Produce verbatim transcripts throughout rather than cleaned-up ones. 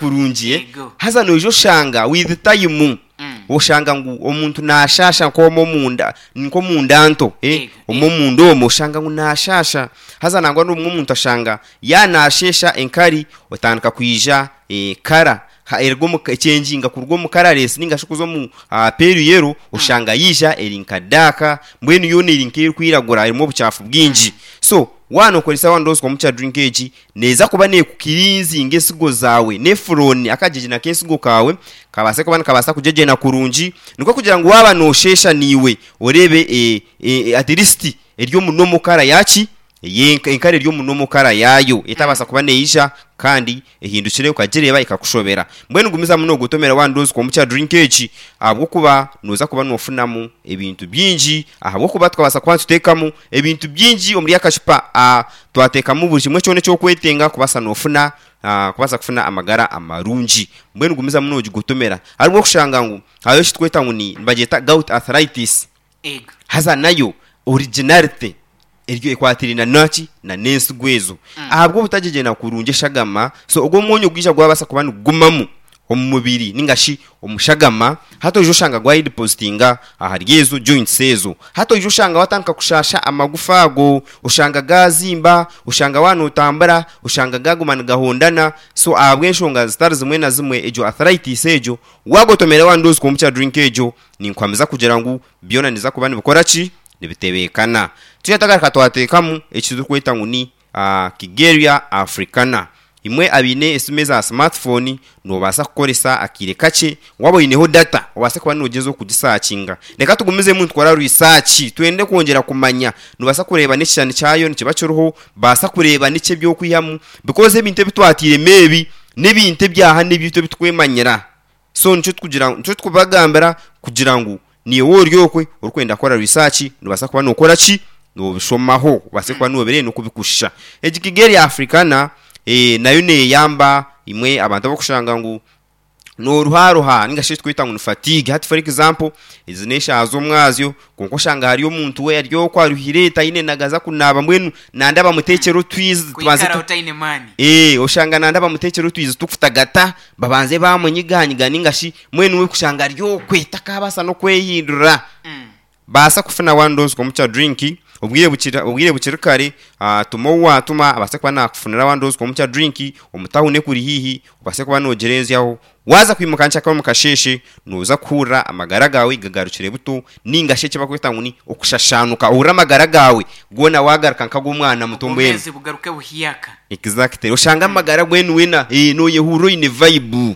Kurungi, eh? Yego. Haza noija oshanga with time Mm. oshanga ngu omuntu naashaasha nk'omwe omunda, nk'omunda nto, eh? Yego, Omwe omunda omwo oshanga ngu naashaasha. Haza nangwa n'obumwe omuntu ashanga yaanaasheesha enkari otandika kwija eh, kara ha- eruga omu ekyenginga kuruga omu kararesi ninga shi kuza omu ah, pale yellow, oshanga yaija eri nka dark, mbwenu yoona eri nk'erikwiragura, erimu obucaafu bwingi. So waanokoresa one dose komukya drink egi, neeza kuba neekukirinzinga ensigo zaawe, nephron akagyegyena k'ensigo kaawe kabaase kuba nikabaasa kugyegyena kurungi, nikwo kugira ngu waaba noosheesha naiwe oreebe eh, eh, at least eri omu normal colour yaki ey'enka, enkari eri omu normal colour yaayo, etabaasa kuba neija kandi ehindukire okagireeba ekakushobera. Mbwenu gumizamu noogotomera one dose komukya drink egi, ahabw'okuba nooza kuba noofunamu ebintu bingi, ahabw'okuba tukabaasa kuba nituteekamu ebintu bingi omuri akacupa, ah, twateekamu buri kimwe kyona eki orikwetenga kubaasa noofuna ah, kubaasa kufuna amagara amarungi. Mbwenu gumizamu noogigotomera. Hariho okushanga ngu hariho eki turikweta ngu ni nibagyeta gout arthritis. Ego. Haza nayo originality eryo ekwatiraine naki na n'ensigo ezo, ahabw'obutagyegyena kurungi eshagama. So ogwo omwonyo gwija gwabaasa kuba nigugumamu omu mubiri ninga shi omu shagama, hati oija oshanga gwayedepositinga ahari ezo joints ezo. Hati oija oshanga watandika kushaasha amagufa ago, oshanga gaazimba, oshanga waaba nootambura oshanga gaaguma nigahondana. So ahabw'enshonga zitari zimwe na zimwe, egyo arthritis egyo waagotomera one dose komukya drink egyo, ninkuhamiza kugira ngu byona nibiza kuba nibikora ki? Nibitebeekana. Twija twagaruka twateekamu eki turikweta ngu ni ah, Kigeria Africana. Imwe abaine esimu eza smartphone, noobaasa kukoresa akaire kakye waaba oineho data obaase kuba noogyezaho kugisaakinga. Reka tugumizemu nitukora research, twende kwongyera kumanya. Noobaasa kureeba n'ekishushani kyayo nikiba kiriho, baasa kureeba niki eby'okwihamu, because ebintu ebi twatairemu ebi n'ebintu ebyaha n'ebyaitu ebi turikwemanyira. So nikyo turikugira nikyo turikubagambira kugira ngu naiwe ori okwe orikwenda kukora research, noobaasa kuba nookora ki? Noobishomaho obaase kuba noobireeba n'oku bikushusha. Egi Kigeria Africana eh, nayo neeyamba imwe abantu abarikushanga ngu nooruharuha ninga shi eki turikweta ngu ni fatigue. Hati for example ezi n'eshaaha z'omwazyo, kwonka oshanga hariyo omuntu we ari okwo aruhire taine nagaza kunaaba, mbwenu nanda bamuteekyere otwizi tubanze Kwikara tu otaine maani. Ee, oshanga nanda bamuteekyere otwizi tukutagata, babanze bamunyiganyiga ninga shi mbwenu we kushanga ari okwe takaabaasa n'okwehindura. Mm. Baasa kufuna one dose komukya drink obwire bukiri obwire bukiri kare, ah, tuma ou waatuma abaase kuba naakufunira one dose komukya drink omu tawuni ekuri haihi, obaase kuba noogirenzyaho. Waaza kwimuka nkyakare omu kasheeshe, nooza kuhurira amagara gaawe gagarukire buto, ninga shi eki barikweta ngu ni okushashaanuka, ohurire amagara gaawe goona waagaruka nk'ag'omwana muto mbwenu. Obwomeezi bugaruke buhyaka. Exactly. Oshanga amagara mbwenu weena eh, nooyehurira oine vibe.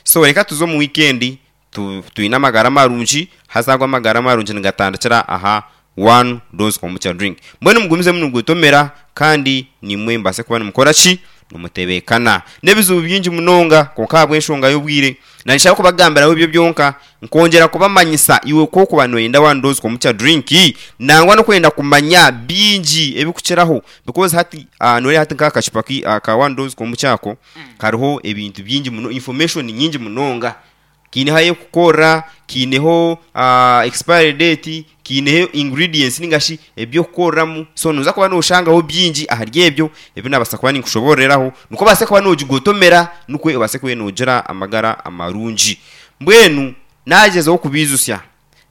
So reka tuze omu weekend tu, twine amagara marungi, haza ago amagara marungi nigatandikira aha one dose komukya drink. Mbwenu mugumizemu nimugotomera kandi naimwe mubaase kuba nimukora ki? Nimutebeekana. N'ebizibu bingi munonga, kwonka ahabw'enshonga y'obwire naanshaba kubagambiraho ebyo byonka, nkongyera kubamanyisa iwe ku orikuba nooyenda one dose komukya drink, nangwa n'okwenda kumanya bingi ebirikukiraho, because hati ah, nooreeba hati nk'aka kacupa ki aka one dose komukya ako kariho ebintu bingi muno, information nyingi munonga. Kiineho ahu erikukorera, kiineho ah, expiry date, kiineho ingredients ninga shi eby'okukoreramu. So nooza kuba nooshangaho bingi ahari ebyo ebi naabaasa kuba ninkushoboororeraho, nikwo obaase kuba noogigotomera nikwo obaase kuba noogira amagara amarungi. Mbwenu naagyezaho kubaijusya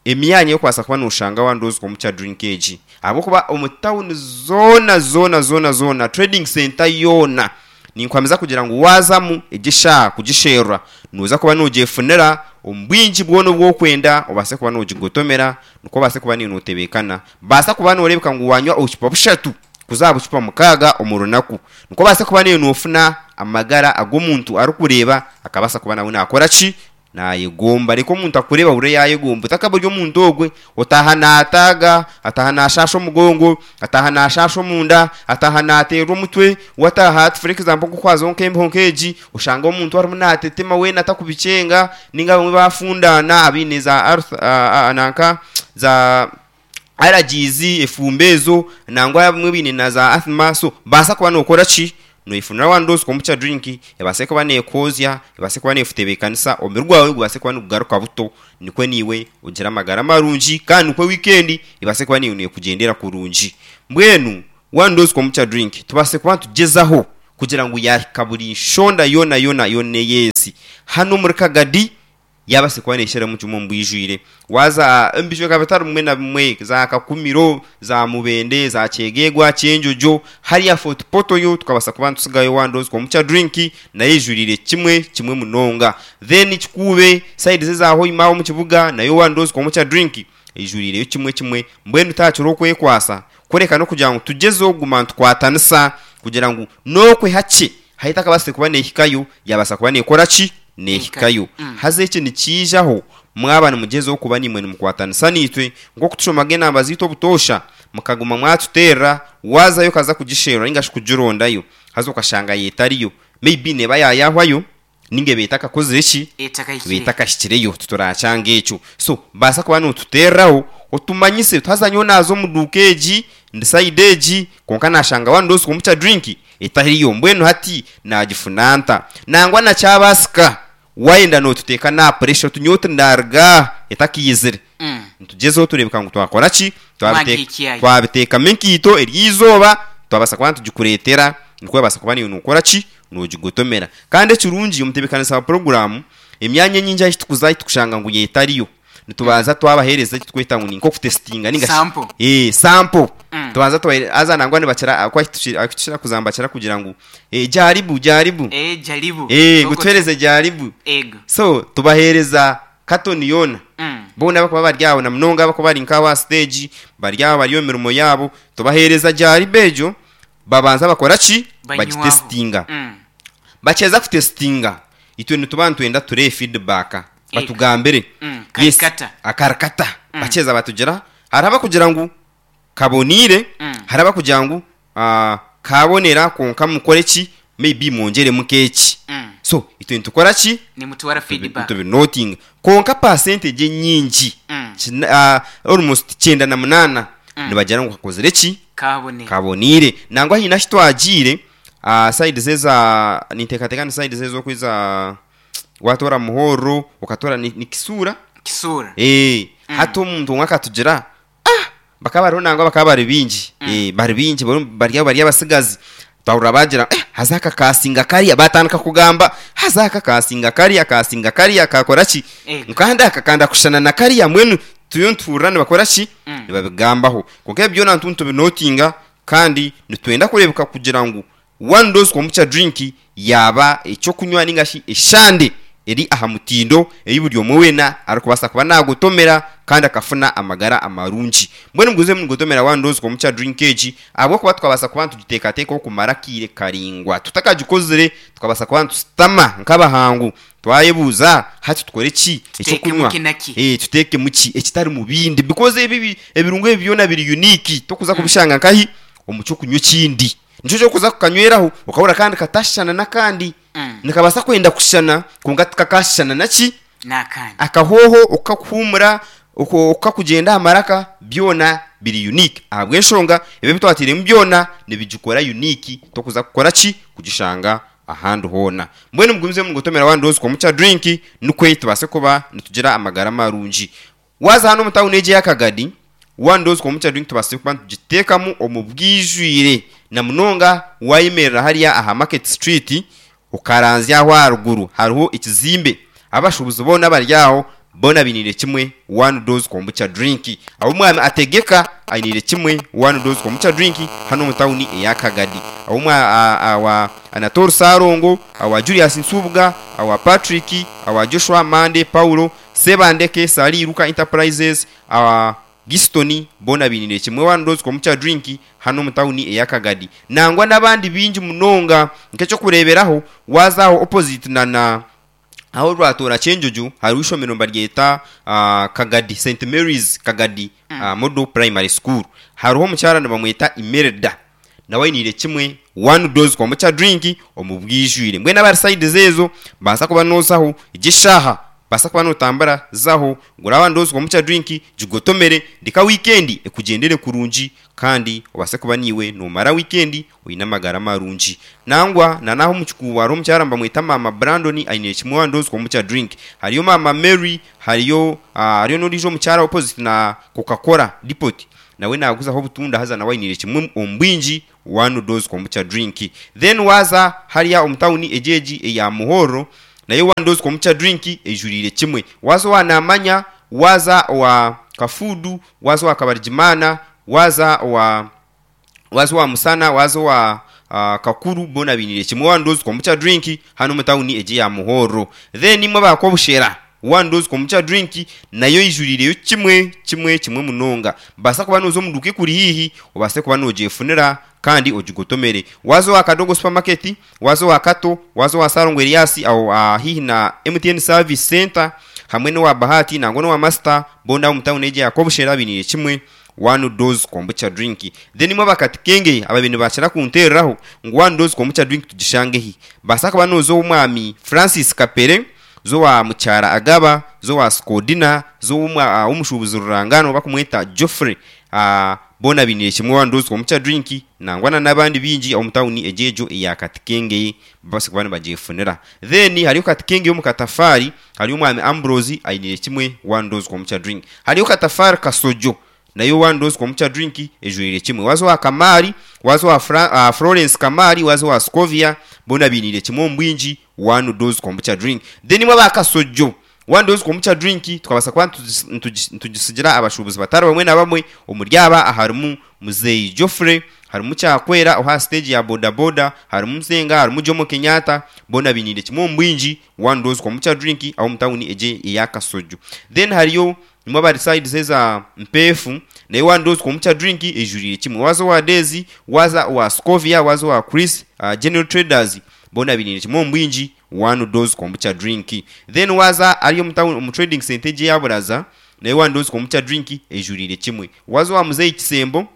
emyanya ey'okubaasa kuba nooshanga one dose komukya drink egi, ahabw'okuba omu tawuni zoona zoona zoona zoona, trading centre yoona, ninkuhamiza kugira ngu waazamu egi eshaaha kugisherura, nooza kuba noogyefunira omu bwingi bwona obu orikwenda, obaase kuba noogigotomera nikwo obaase kuba naiwe nootebeekana. Baasa kuba nooreebeka ngu waanywa obucupa bushatu kuza aha bucupa mukaaga omu runaku, nikwo obaase kuba naiwe noofuna amagara ag'omuntu arikureeba akabaasa kuba nawe naakora ki? Naayegomba. Reka omuntu akureebe ahurire yaayegomba. Otakaba ori omuntu ogwe otaaha naataaga, ataaha naashaasha omugongo, ataaha naashaasha omunda, ataaha naateerwa omutwe, wataaha hati for example nk'oku nk'embeho nk'egi, oshanga omuntu arimu naatetema weena atakubikyenga, ninga abamwe baafundaana abaine za arth ah, ah, nanka za allergies, efumbi ezo, nangwa abamwe baine na za asthma. So baasa kuba nookora ki? Nooyefunira one dose komukya drink ebaase kuba neekwozya, ebaase kuba neekutebeekanisa, omubiri gwawe gubaase kuba nigugaruka buto, nikwo naiwe ogire amagara marungi kandi nikwo wiikendi ebaase kuba naiwe neekugyendera kurungi. Mbwenu one dose komukya drink tubaase kuba nitugyezaho Kugira ngu yahika buri nshonda yoona yoona yoona ey'ensi. Hanu omuri Kagadi yabaasa kuba neesheremu kimwe omu bwijwire. Waaza omu bicweka bitari bimwe na bimwe za Kakumiro, za Mubende, za Kyegegwa, Kyenjojo, hariya Fort Portal yo tukabaasa kuba nitusigayo one dose komukya drink nayo eijuriire kimwe kimwe munonga. Then Kikuube side eza Hoima omu kibuga nayo one dose komukya drink eijuriireyo kimwe kimwe. Mbwenu tihaakiriho okwekwasa kureka n'okugira ngu tugyezeho kuguma nitukwatanisa kugira ngu n'okwe hakye ahu etakabaasire kuba neehikayo yaabaasa kuba neekora ki? Neehikayo. Haza eki nikiijaho mwaba nimugyezaho kuba naimwe nimukwatanisa naitwe nk'oku tushomaga enamba zaitu obutoosha mukaguma mwatuteerera waazayo okaza kugisherura nainga shi kugirondayo haza okashanga yo etariyo maybe neeba yaayahwayo nainga eba etakakozire ki? Eba etakahikireyo titurakyanga ekyo. So baasa kuba nootuteereraho otumanyise oti haza nyowe naaza omu duuka egi ndi sayidi egi kwonka naashanga one dose komukya drink etariyo mbwenu hati naagifuna nta? Nangwa na kyabaasika waayenda nootuteeka n'aha puresha oti nyowe tindaaruga aha etakaizire. Nitugyezaho tureebeka ngu twakora ki? Mwagihikiayo. Twabiteekamu enkaito eryo eizooba twabaasa kuba nitugikureetera nikwo wabaasa kuba naiwe nookora ki? Noogigotomera. Kandi ekirungi omutebeekanisa wa puroguraamu emyanya enyingi ahu turikuza ahu turikushanga ngu etariyo nitubanza twabaheereza eki turikweta ngu ni nk'okutesitinga nainga shi Sample. ee sample. Mm. Tubanza tubaheereza haza nangwa nibakira ahu tukira kuza nibakira kugira ngu ee jaribu jaribu. Eh, jaribu. Ee ngu Ogwo- tuheereze jaribu. Ego. So tubaheereza katoni yoona. Mm. Boona abarikuba bari aho na munonga abarikuba bari nk'aho aha siteegi bari aho bari omu mirimo yaabo tubaheereza jaribu egyo babanza bakora ki? Banywaho. Bagitesitinga. Mm. Bakyeza kutesitinga itwe nituba nitwenda tureebe feedback batugambire. Mm, Yes, karikata. akarikata. Bakyeza batugira hariho abakugira ngu kaboniire, Mm. hariho abakugira ngu ah, kabonera kwonka mukore ki? Maybe mwongyeremu nk'eki. Mm. So itwe nitukora ki? Nimutwara feedback. Tubinotinga. Kwonka percentage enyingi Mm. kina, ah, almost kyenda na munaana nibagira ngu kakozire ki? Kabonera. Kaboniire. Nangwa haine ahu twagiire ah, side eza ninteekateeka ni side ezo eza waatoora Muhorro okatoora ni, ni Kisuura? Kisuura. Eh, hati omuntu omwe akatugira ah, bakaba bariho nangwa bakaba bari baingi. Eh, bari baingi bari bari aho bari abasigazi. Twahurira bagira eh, haza aka kasinga kariya batandika kugamba haza aka kasinga kariya kasinga kariya kakora ki? Ego. Kandi aka kanda kushushana na kariya mbwenu turiyo nituhurira nibakora ki? Mm. Nibabigambaho. Kwonka ebi byona nitubinotinga kandi nitwenda kureebeka kugira ngu one dose komukya drink yaaba ekyokunywa nainga shi eshande eri aha mutindo ei buri omwe weena arikubaasa kuba naagotomera kandi akafuna amagara amarungi. Mbwenu muguze mugotomera one dose komukya drink egi ahabw'okuba tukabaasa kuba nitugiteekateekaho kumara akaire karaingwa tutakagikozire tukabaasa kuba nitusitama nk'abahangu twayebuuza hati tukore ki Tuteekemu ekyokunywa ki na ki? Eh, tuteekemu ki ekitari mu bindi because ebi ebi- ebirungo ebi byona biri unique tokuza kubishanga nkahi omu kyokunywa ekindi. Nikyo ky'okuza kukanyweraho okahurira kandi katashushana n'akandi. Mm. Nikabaasa kwenda kushushana kwonka tikakashushana naki? N'akandi. Akahooho okukakuhuumura oku- okukakugyenda aha maraka byona biri unique ahabw'enshonga ebi ebitwatairemu byona nibigikora unique tokuza kukora ki? Kugishanga ahandi hoona. Mbwenu mugumize mugotomera one dose komukya drink nikwo tubaase kuba nitugira amagara marungi. Waaza hanu omu tawuni egi eya Kagadi one dose komukya drink tubaasire kuba nitugiteekamu omu bwijwire na munonga waayemerera hariya aha Market Street okaranzya aho aharuguru hariho ekizimbe abashuubuzi boona abari aho boona bainiire kimwe one dose kombucha drink. Ahu omwami ategeka ainiire kimwe one dose kombucha drink hanu omu tawuni eya Kagadi. Ahu omwa, a, awa Anatole Sarongo, awa Julius Nsubuga, awa Patrick, awa Joshua Mande Paulo, Sebandeke Saliruka Enterprises, awa Giston boona bainiire kimwe one dose kombucha drink hanu omu tawuni eya Kagadi. Nangwa n'abandi baingi munonga nk'ekyokureeberaho waaza aho opposite na na aho rwatoora Kyenjojo hariho ishomero nibaryeta ah, Kagadi Saint Mary's Kagadi ah, Model Primary School. Hariho omukyara nibamweta Imelda nawe ainiire kimwe one dose kombucha drink omu bwijwire. Mbwenu abari side ezo baasa kuba noozaho egi eshaaha baasa kuba nootambura zaho gura one dose kombucha drink gigotomere ndeka weekend ekugyendere kurungi kandi obaase kuba niiwe noomara weekend oine amagara marungi. Nangwa na n'aho omu kikuubo hariho omukyara nibamweta Maama Brandon ainiire kimwe one dose kombucha drink. Hariyo Maama Mary, hariyo ah, hariyo n'ondiijo omukyara opposite na Coca-Cola depot Nawe naguzaho obutunda, haza nawe ainiire kimwe omu bwingi One Dose Kombucha Drink. Then waza hariya omu tawuni egi egi eya Muhorro, nayo One Dose Kombucha Drink ejuriire kimwe. Waza owa Namanya, waza owa Kafuudu, waza owa Kabarigimana, waza owa waza owa Musana, waza owa uh, Kakuru, boona bainiire kimwe One Dose Kombucha Drink hanu omu tawuni egi eya Muhorro. Then imwe abakobushera, One Dose Kombucha Drink nayo ijuriireyo kimwe kimwe kimwe munonga. Baasa kuba nooza omu duuka ekuri haihi, obaase kuba noogyefunira kandi ogigotomere. Waza owa Kadogo Supermarket, waza owa Kato, waza owa Sarongo Elias aho uh, haihi na M T N Service Center, hamwe n'owa Bahati nangwa n'owa Master, boona omu tawuni egi ya Kobushera bainiire kimwe One Dose Kombucha Drink. Then imwe abakatikenge ababaire nibakira kunteereraho ngu One Dose Kombucha Drink tugishangehi, baasa kuba nooza ow'omwami Francis Kapere, zowa Mukyara Agaba, zowa Skodina, zowa omushuubuzi Rurangano bakumweta Geoffrey, uh, boona bainiire kimwe One Dose Kombucha Drink, nangwa na n'abandi bingi omu tawuni egi egyo eya Katikenge babaase kuba nibagyefunira. Then hariyo Katikenge omu Katafari, hariyo omwami Ambrose ainiire kimwe One Dose Kombucha Drink. Hariyo Katafari Kasojo, nayo One Dose Kombucha Drink ejuriire kimwe. Waza owa Kamari, waza owa Fra-, uh, Florence Kamari, waza owa Scovia, boona bainiire kimwe omu bwingi One Dose Kombucha Drink. Then imwe aba Kasojo, One Dose Kombucha Drink tukabaasa kuba ntugisigira abashuubuzi batari bamwe na bamwe. Omuri aba harimu Muzeyi Geoffrey, harimu Kyakwera oha stage ya boda boda, harimu Nsenga, harimu Jomo Kenyatta, boona bainiire kimwe omu bwingi One Dose Kombucha Drink aho omu tawuni egi eya Kasojo. Then hariyo nimwe abari sides eza Mpefu, nayo One Dose Kombucha Drink ejuriire kimwe. Waza owa Dezi, waza owa Scovia, waza owa Chris, uh, General Traders, boona bainiire kimwe omu bwingi One Dose Kombucha Drink. Then waza ari omu town, omu trading center egi ya Buraza, nayo One Dose Kombucha Drink ejuriire kimwe. Waza owa Muzeyi Kisembo,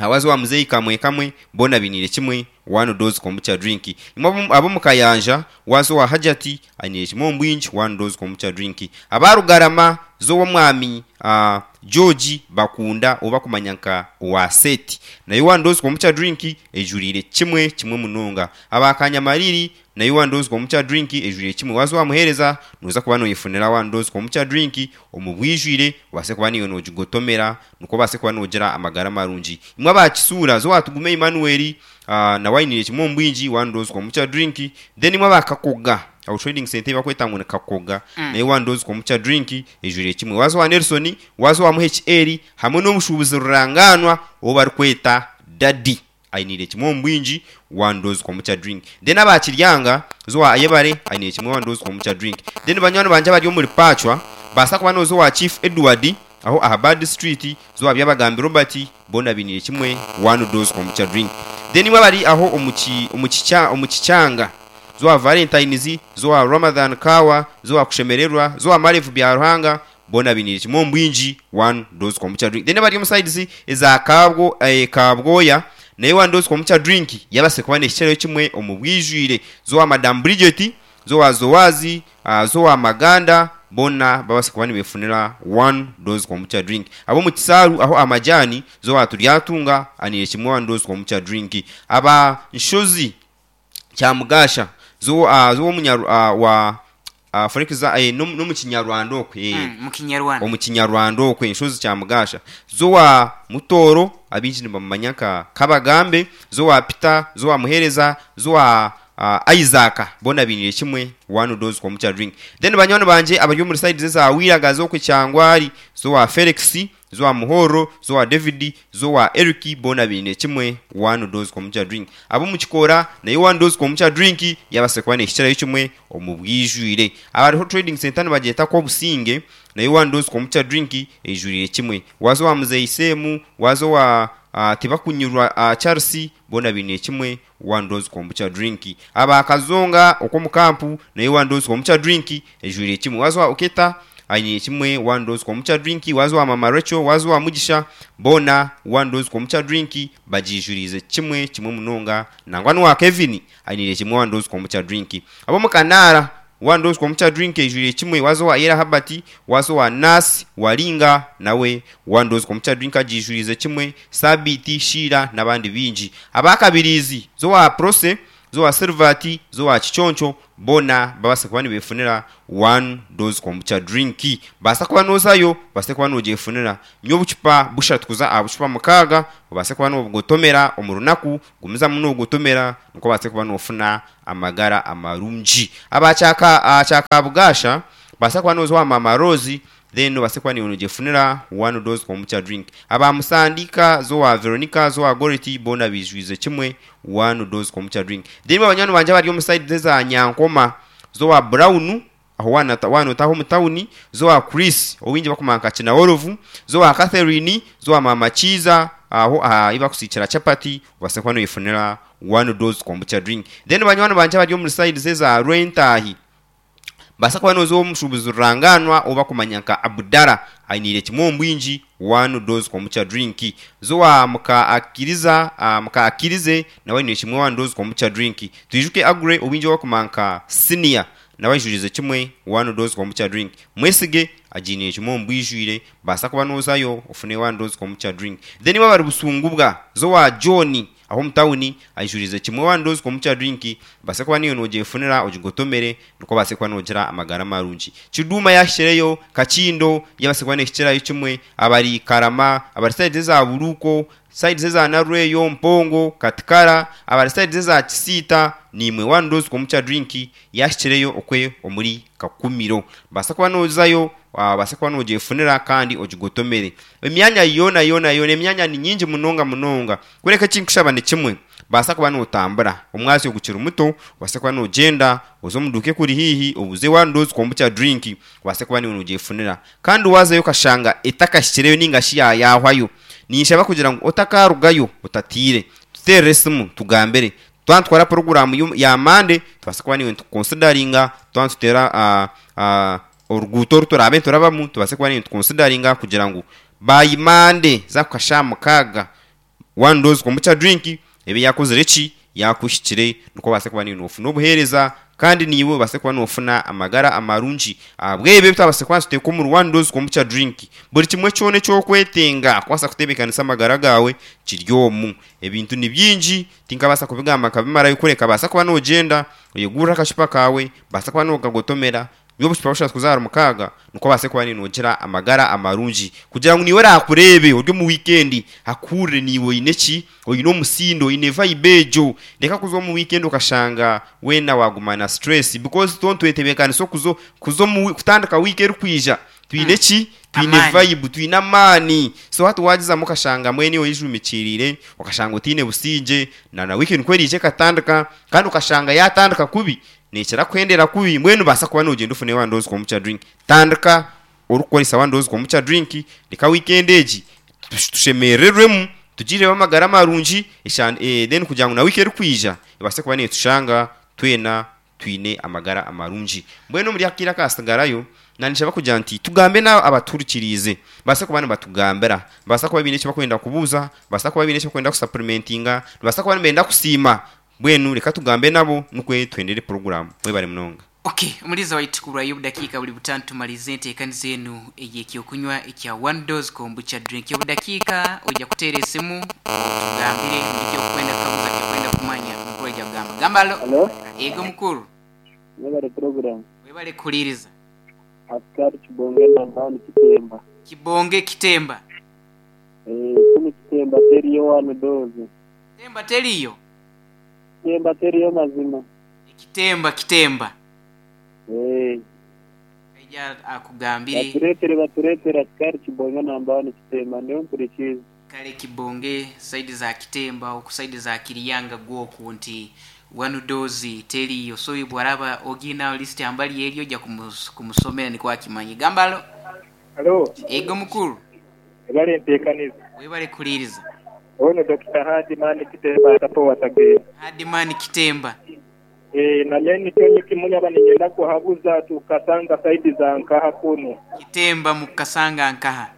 waza owa Muzeyi Kamwe Kamwe, boona bainiire kimwe One Dose Kombucha Drink. Imwe abo Mukayanja, waza owa Hajati ainiire kimwe omu bwingi One Dose Kombucha Drink. Abarugarama z'owomwami uh, George Bakunda oba kumanya nka owa Seti, nayo One Dose Kombucha Drink ejuriire kimwe kimwe munonga. Abakanyamariri nayo One Dose Kombucha Drink ejuriire kimwe. Waza wamuhereza noza kuba noyifunira One Dose Kombucha Drink omu bwijwire, obase kuba niyo nogigotomera, nukwo obase kuba nogira amagara marungi. Imwe abakisuura zo watugume Emmanuel, uh, nawe ainiire kimwe omu bwingi One Dose Kombucha Drink. Then imwe abakakoga aho trading center bakweta ngu ni Kakoga, mm. nayo One Dose Kombucha Drink ejuriire kimwe. Waza wa Nelson, waza wa H L, hamwe n'omushuubuzi Ruranganwa obu barikweta Daddy ainiire kimwe omu bwingi One Dose Kombucha Drink. Then abakiryanga zo wa Ayebare ainiire kimwe One Dose Kombucha Drink. Then banywani banje abari omuri Pachwa baasa kuba nooza owa Chief Edward aho aha Bad Street, zo wa Byabagambi Robert, boona bainiire kimwe One Dose Kombucha Drink. Then imwe abari aho omu Kikyanga, zo wa Valentines, zo wa Ramadan Kawa, zo wa Kushemererwa, zo wa Marevu bya Ruhanga, boona bainiire kimwe omu bwingi One Dose Kombucha Drink. Then abari omu sides eza Kabwo, eh, Kabwoya, nayo One Dose Kombucha Drink yabase kuba n'ekicero kimwe omu bwijwire. Zo wa Madam Bridget, zo wa Zowazi, uh, zo wa Maganda, boona babase kuba nibefunira One Dose Kombucha Drink. Abo mu Kisaaru aho amajani, zo wa Turyatunga aniire kimwe One Dose Kombucha Drink. Aba Nshozi Kyamugasha, zo uh, zo omunyaru uh, wa uh, for example eh, no mu Kinyarwanda okwe, eh, mm, mu Kinyarwanda, omu Kinyarwanda okwe Nshozi Kyamugasha, zo wa Mutoro abingi nibamumanya nka Kabagambe, zo wa Peter, zo wa Muhereza, zo wa uh, Isaac, boona bainiire kimwe One Dose Kombucha Drink. Then banywani banje abari omuri sides za Wiraga, zo Kyangwari, zo wa Felix, zo wa Muhoro, zo wa David, zo wa Eric, boona bainiire kimwe One Dose Kombucha Drink. Abo mu Kikora nayo One Dose Kombucha Drink yabase kuba n'ekicero kimwe omu bwijwire. Abariho trading center nibagyeta ko Obusinge, nayo One Dose Kombucha Drink ejuriire kimwe. Waza wa Muzeyi Semu, waza wa uh, Tibakunyurwa uh, Charles, boona bainiire kimwe One Dose Kombucha Drink. Abakazonga okwo mu kampu nayo One Dose Kombucha Drink ejuriire kimwe. Waza wa Oketa ainiire kimwe One Dose Kombucha Drink. Waza wa Mama Rachel, waza wa Mugisha, boona One Dose Kombucha Drink bagijurize kimwe kimwe munonga. Nangwa n'owa Kevin ainiire kimwe One Dose Kombucha Drink. Abo mu Kanara One Dose Kombucha Drink ejuriire kimwe. Waza wa Era Habati, waza wa Nasi Walinga, nawe One Dose Kombucha Drink agijurize kimwe. Sabiti Shira n'abandi bingi. Abakabirizi zo wa Prose, Zowa Silvati, zowa Kiconco, boona babasa kuba nibefunira one dose kombucha drink. Basa kuba nozayo, basa kuba nogyefunira. Nyo obucupa bushatu kuza aha bucupa mukaaga, obase kuba nobugotomera omu runaku, gumizamu nogotomera nikwo obase kuba nofuna amagara amarungi. Abakyaka akyaka Bugasha, basa kuba noza owa Mama Rose, then obase kuba niwe nogefunira one dose kombucha drink. Aba Musandika, zowa Veronica, zowa Goreti, boona bijwize kimwe one dose kombucha drink. Then abanywani bangye abari omu side eza Nyankoma, zowa Brown, aho wana wanotaho omu tawuni, zowa Chris, owingi bakumanya nka Kinaworovu, zowa Catherine, zowa Mama Kiza, aho aha ibakusikira chapati, obase kuba noyefunira one dose kombucha drink. Then banywani bangye abari omu side eza Rwentahi, basa kuba noza omushubuzi ruranganwa oba kumanya nka Abdara, ainiire kimwe omu bwingi one dose kombucha drink. Zowa muka akiriza, uh, muka akirize nawe ainiire kimwe one dose kombucha drink. Twijuke Agre obwingi oba kumanya nka Senior, nawe aijurize kimwe one dose kombucha drink. Mwesige agiiniire kimwe omu bwijwire, basa kuba nozayo ofune one dose kombucha drink. Then iwe abari Busungubwa, zowa John aho omu tawuni aijurize kimwe one dose kombucha drink, basa kuba niyo nogyefunira ogigotomere nikwo obase kuba nogira amagara marungi. Kiduma yashikireyo, Kakindo yabase kuba nehikirayo kimwe, abari Karama, abari side za Buruko, side za Narweyo, Mpongo, Katikara, abari side za Kisiita, nimwe one dose kombucha drink yashikireyo okwe omuri Kakumiro. Basa kuba nozayo, basa kuba nogyefunira kandi ogigotomere. Emyanya yoona yoona yoona, emyanya ni nyingi munonga munonga. Kureka ekinkushaba ni kimwe, basa kuba notambura omwasi ogukiri muto, obase kuba nogyenda oze omu duuka ekuri haihi obuze one dose kombucha drink, obase kuba niwe nogyefunira. Kandi wazayo okashanga etakashikireyo ninga shi yayahwayo, ninshaba kugira ngu otakarugayo otatiire, tuteerere esimu tugambire. Twantwara programu ya Mande, tubase kuba niwe tukonsidaringa, twantutera uh, uh, oruguuto oru turabe turabamu, tubase kuba niwe tukonsidaringa kugira ngu by Mande za kukasha mukaaga one dose kombucha drink ebe yakozire ki yakushikire, nikwo obase kuba niwe nofuna obuheereza kandi niiwe obase kuba nofuna amagara amarungi. Ahabw'ebyo twabase kuba nituteeka omuri one dose kombucha drink, buri kimwe kyona ekyokwetenga kubaasa kutebeekanisa amagara gaawe kiri omu. Ebintu ni bingi tinkabaasa kubigamba nkabimarayo, kureka baasa kuba nogyenda oyegurire akacupa kaawe, baasa kuba nokagotomera, obucupa bushatu kuza ahari mukaaga, nikwo obase kuba nogira amagara amarungi kugira ngu niiwe orakureebe ori omu weekend akuhurire niiwe oine ki, oine omusindo, oine vibe egyo. Reka kuza omu weekend okashanga weena waguma na stress, because tontwetebeekanisa okuzo kuza omu kutandika wiiki erikwija twine ki, twine Amaani. vibe, twine amaani. So hati wagizamu okashanga mwene oyejumikiriire, okashanga otiine busingye, na na weekend ku eriija ekatandika kandi okashanga yatandika kubi, nekira kuhendera kubi. Mbwenu baasa kuba nogyenda ofune one dose kombucha drink. Tandika orikukoresa one dose kombucha drink, reka weekend egi tushemererwemu, tugireho amagara marungi, eh, then kugira ngu na wiiki erikwija ebase kuba netushanga twena twine amagara amarungi. Mbwenu omuri akaire akasigarayo, nanishaba kugira nti tugambe nabo abaturikiriize, basa kuba nibatugambira, basa kuba biine eki bakwenda kubuuza, basa kuba biine eki bakwenda kusupplementinga, basa kuba nibenda kusiima. Mbwenu reka tugambe nabo nikwe tuhendere programu. Mwebare munonga. Okay, omuliza waitu kulwayo obudakiika buli butano tumalize enteekaniza enu ey'ekyokunywa ekya one dose kombucha drink. Obudakiika ojja kuteera esimu otugambire buli kyokwenda kukaguza kyokwenda kumanya, mukuru ajja kugamba. Gamba alo. Halo, Ego mukuru. mwebale program. Webale kuhuliriza. Askari Kibonge nambani Kitemba. Kibonge Kitemba. Eh, kunu Kitemba teriyo one dose. Kitemba teriyo. Kitemba teriyo mazima. Kitemba Kitemba. Eh, Aija akugambire. baturetere baturetere askari Kibonge nambani Kitemba niyo mpurikiza. Kale Kibonge saidi za Kitemba oku saidi za Kiriyanga gwoku nti one dose teriyo, so bwaraba ogina list ambali eryo ojja kumus, kumusomera nikwo akimanyi. Gambalo. Halo, Ego mukuru. ebale enteekaniza. Webale kuhuliriza. Ono Dokita Hadimani Kitemba atapo watagenda. Hadimani Kitemba. Eh, nanye nikyo nyikimunya baninyenda kuhabuza tukasanga saidi za nkaha kuno. Kitemba mukasanga nkaha.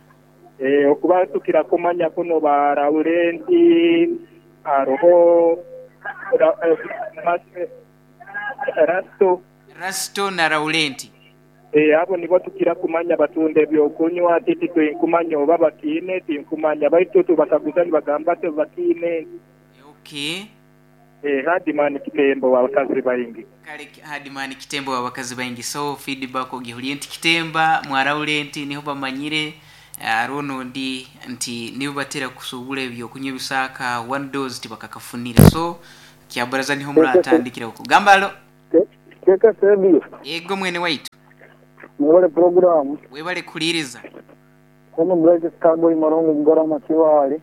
Eh, okuba tukira kumanya kuno ba Laurenti aroho ra, eh, mas, eh, Rasto Rasto na Laurenti. Eh, abo nibo tukira kumanya batunda ebyokunywa titi twinkumanya oba bakiine tinkumanya baitu tubakaguza nibagamba te bakiine. Okay. Eh, Hadiman Kitembo wabakazi baingi. Kale Hadimani Kitemba wabakazi baingi. So feedback ogihuliye nti Kitemba mwaraule nti niho bamanyire arono ndi nti nibo batera kusubula ebyokunywa ebisaka one dose tibakakafunire. So kyabaraza niho muratandikira uko gambalo. Keka sebi Yego mwene waitu. Mwebale programu Webale kuliriza. Kono Black Starboy Marongo Mugarama Kibaale.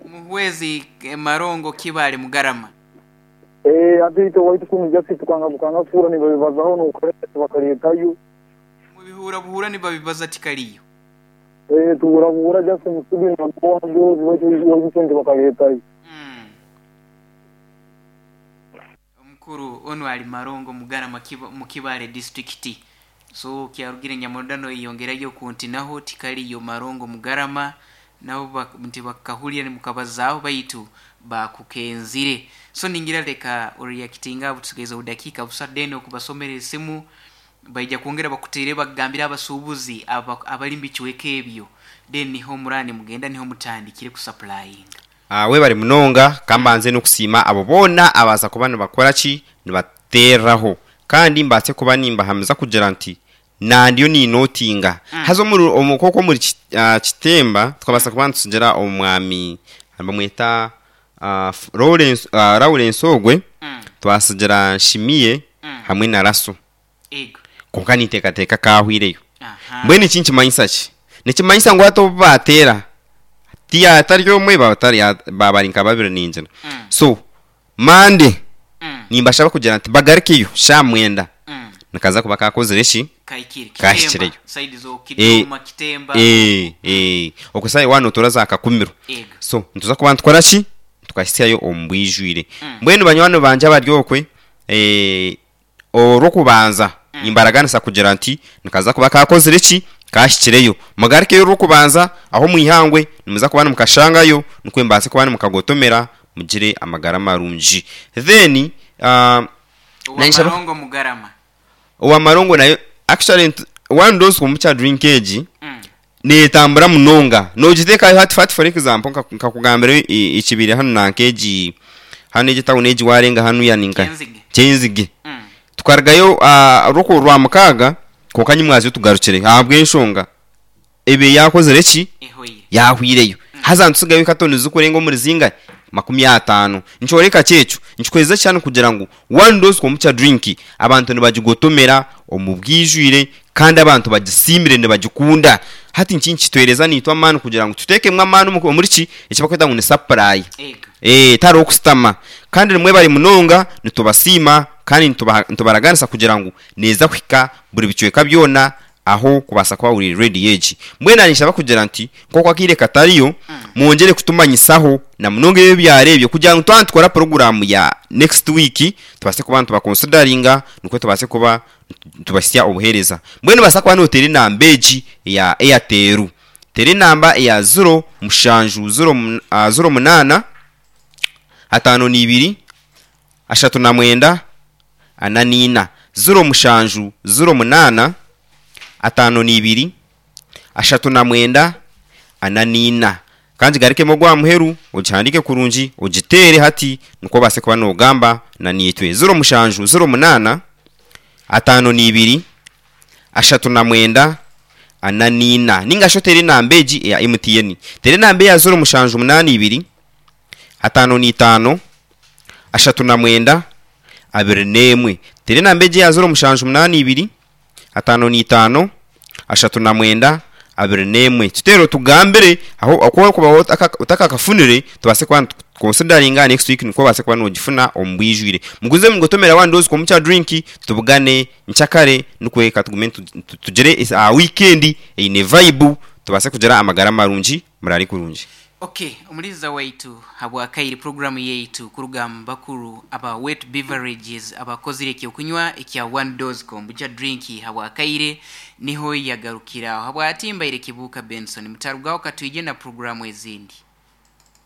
Muhwezi eh, Marongo Kibale Mugarama. Eh ate waitu kunu jasi tukanga bukanga fura ni babibazaho nukoresa bakaretayo. Mubihura buhura nibabibaza tikaliyo. Eh tubura bura jasi musubi na kwa njozi waitu waitu ndi bakaretayo. Mm. Omukuru ono ali Marongo Mugarama kiba, mu Kibale district. So kyarugire Nyamodano yongerayo ku nti naho tikaliyo Marongo Mugarama nabo bak- nti bakahulira ni mukabazaaho baitu bakukenzire. So ningira leka oriyakitinga butusigaiza obudakiika busa then okubasomera esimu baija kwongera bakuteere bagambire abasuubuzi aba- abali mu bichweka ebyo, then niho murani mugenda niho mutandikire kusupplyinga. Ah, webale munonga kambanze n'okusiima abo boona abaasa kuba nibakora ki nibateeraho kandi mbaase kuba nimbahamiza kugira nti nandiyo ninootinga Mm. haza omuri- omu- koko omuri Ki- ah, Kitemba tukabaasa kuba nitusigira omwami bamweta ah, F- Lawrence ah, Lawrence ogwe Mm. twasigira Nshimiye Mm. hamwe na Raso Ego. konka ninteekateeka kahwireyo. Aha. Mbwenu eki nikimanyisa ki? Nikimanyisa ngu hati obu bateera tiyatari omwe batari babari nka babiri ningira. Mm. So mande Mm. nimbashaba kugira nti bagarukeyo sha mwenda Mm. nikaza kuba kakozire ki Kaikiri. Kashikireyo. Kitemba. Saidi zo Kidoma Kitemba. eh eh okusayi wano turaza akakumiro. Ego. So nituza kuba nitukora ki tukahitsyayo omu bwijwire. Mm. Mbwenu banywani banje abari okwe eh orw'okubanza Mm. nimbaraganisa kugira nti nikaza kuba kakozire ki kashikireyo mugarukeyo orw'okubanza aho mwihangwe nimuza kuba nimukashangayo nikwe mbaase kuba nimukagotomera mugire amagara marungi. Then uh, Owa Nanshaba- Marongo Mugarama. Owamarongo nayo actually ntu- one dose komukya drink egi Mm. netambura munonga nogiteekayo hati fati for example nka- nkakugambira i- ekibiri hanu nanka egi hanu egi tawuni egi warenga hanu yaninka Kyenzige. Kyenzige. Mm. Tukarugayo ah, orw'oku rwa mukaaga konka nyimwazyo tugarukire ahabw'enshonga ebe yakozire ki Ehoire. yahwireyo haza ntusigayo katoni zikurenga omuri zinga makumi ataano. Nkyoreka kyekyo nkikweza cyane kugira ngu one dose komukya drink abantu nibagigotomera omu bwijwire kandi abantu bagisiimire nibagikunda. Hati nki nkitwereza nitwa amaani kugira ngu tuteekemu amaani omu- omuri ki ekibakweta ngu ni supply. Ego. Eh tari okusitama kandi nimwe bari munonga nitubasiima kandi nitubaha- nitubaraganisa kugira ngu neza kuhika buri bicweka byona aho kubasa kuba uri ready egi. Mbwenu nishaba kugira nti nk'oku akaire katariyo mwongere kutumanyisaho na munonga ebyo byarebye kugira ngu twaba nitukora poroguramu ya next week tubase kuba nitubakonsidaringa nikwo tubase kuba tubasya obuhereza. Mbwenu basa kuba notera enamba egi eya Airtel, tera enamba eya zero mushanju zero mun- ah, zero munaana ataano n'ibiri ashatu na mwenda ana n'ina, zero mushanju zero munaana ataano n'ibiri ashatu na mwenda ana n'ina. Kandi garikemo gwa muheru ogihandike kurungi ogitere hati nikwo obase kuba nogamba na nitwe, zero mushanju zero munaana ataano n'ibiri ashatu na mwenda ana n'ina. Ninga sho tere enamba egi eya M T N, tere enamba eya zero mushanju munaana ibiri ataano n'itaano ashatu na mwenda abiri n'emwe. Tere enamba egi eya zero mushanju munaana ibiri ataano n'itaano ashatu na mwenda abiri n'emwe, tuteere tugambire aho okuba kuba otakakafunire tubase kuba consideringa next week nikwo obase kuba nogifuna omu bwijwire. Muguze mugotomera one dose komukya drink tubugane nkyakare nikwe katugume tu- tu- tugire is- ah, weekend eine vibe tubase kugira amagara marungi murari kurungi. Okay, omuliza waitu habwakaire programu yaitu kuruga mu bakuru aba wet beverages abakozire ekyokunywa ekya one dose kombucha drink habwakaire niho yagarukiraho habwatimbaire Kibuka Benson mutarugaho katwije na programu ezindi.